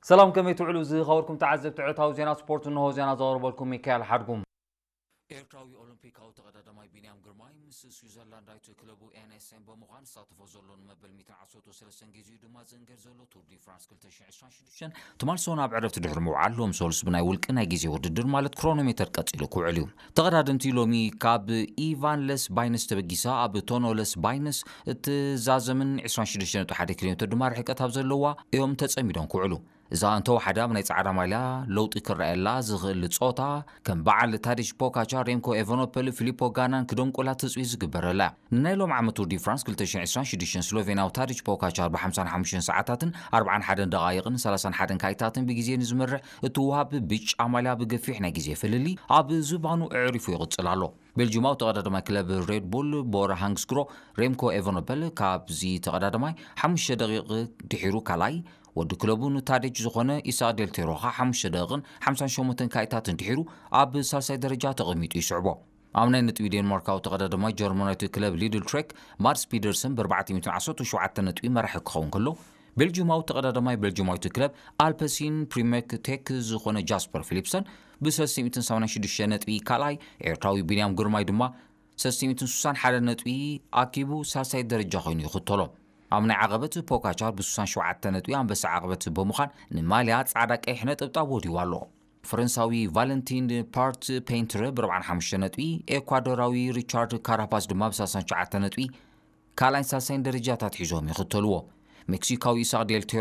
ሰላም፣ ከመይ ትውዕሉ ዝኸበርኩም ተዓዘብቲ ዕለታዊ ዜና ስፖርት? እንሆ ዜና ዘቕርበልኩም ሚካኤል ሓድጉም። ኤርትራዊ ኦሎምፒካዊ ተቐዳዳማይ ቢንያም ግርማይ ምስ ስዊዘርላንዳዊት ክለቡ ኤንኤስኤም ብምዃን ዝሳተፎ ዘሎ ንመበል ሚእትን ዓሰርተ ሰለስተን ግዜኡ ድማ ዝእንገድ ዘሎ ቱር ዲ ፍራንስ ክልተ ሽሕን ዕስራን ሽዱሽተን ትማል ሰሙን ኣብ ዕረፍቲ ድሕሪ ምውዓል ሎም ሰሉስ ብናይ ውልቂ ናይ ግዜ ውድድር ማለት ክሮኖሜተር ቀጺሉ ክውዕል እዩ። ተቐዳደምቲ ሎሚ ካብ ኢቫን ለስ ባይነስ ተበጊሳ ኣብ ቶኖ ለስ ባይነስ እትዛዘምን ዕስራን ሽዱሽተን ነጥቢ ሓደ ኪሎ ሜትር ድማ ርሕቀት ኣብ ዘለዋ እዮም ተጸሚዶም ክውዕሉ። እዛ እንተወሓደ ኣብ ናይ ጻዕዳ ማልያ ለውጢ ክረኣየላ ዝኽእል ጾታ ከም በዓል ታዲሽ ፖካቻ፣ ሬምኮ ኤቨኖፐል፣ ፊሊፖ ጋናን ክደንቁላ ትጽቢት ዝግበረላ እያ። ንናይ ሎም ዓመት ቱር ዲ ፍራንስ ክልተ ሽሕን ዕስራን ሽዱሽተን ስሎቬንያዊ ታዲሽ ፖካቻር ብ ሓምሳን ሓሙሽተን ሰዓታትን ኣርባዓን ሓደን ደቓይቕን ሰላሳን ሓደን ካይታትን ብግዜ ንዝመርሕ እትወሃብ ብጫ ማልያ ብገፊሕ ናይ ግዜ ፍልልይ ኣብ ዝባኑ ኣዕሪፉ ይቕጽል ኣሎ። ቤልጅማዊ ተቐዳዳማይ ክለብ ሬድ ቡል ቦራ ሃንግስግሮ ሬምኮ ኤቨኖፐል ካብዚ ተቐዳዳማይ ሓሙሽተ ደቂቕ ድሒሩ ካልኣይ፣ ወዲ ክለቡ ንታዴች ዝኾነ ኢሳቅ ዴልቴሮ ኸዓ ሓሙሽተ ደቂቕን ሓምሳን ሸሞንተን ካይታትን ድሒሩ ኣብ ሳልሳይ ደረጃ ተቐሚጡ ይስዕቦ። ኣብ ናይ ነጥቢ ዴንማርካዊ ተቐዳዳማይ ጀርመናዊት ክለብ ሊድል ትሬክ ማድስ ፒደርሰን ብ ኣርባዕተ ሚእትን ዓሰርተ ሸውዓተ ነጥቢ መራሒ ክኸውን ከሎ፣ ቤልጅማዊ ተቐዳዳማይ ቤልጅማዊት ክለብ ኣልፐሲን ፕሪሜክ ቴክ ዝኾነ ጃስፐር ፊሊፕሰን ብ ሰለስተ ሚእትን ሰማንያን ሽዱሽተ ነጥቢ ካልኣይ፣ ኤርትራዊ ቢንያም ግርማይ ድማ ሰለስተ ሚእትን ስሳን ሓደ ነጥቢ ኣኪቡ ሳልሳይ ደረጃ ኮይኑ ይኽተሎ። ኣብ ናይ ዓቐበት ፖካቻር ብ ስሳን ሸውዓተ ነጥቢ ኣንበሳ ዓቐበት ብምዃን ንማልያ ጻዕዳ ቀይሕ ነጠብጣብ ወዲዋ ኣሎ። ፈረንሳዊ ቫለንቲን ፓርት ፔንትረ ብ ኣርባዓን ሓሙሽተ ነጥቢ፣ ኤኳዶራዊ ሪቻርድ ካራፓስ ድማ ብ ሰላሳን ትሽዓተ ነጥቢ ካልኣይን ሳልሳይን ደረጃታት ሒዞም ይኽተልዎ። ሜክሲካዊ ኢሳቅ ዴል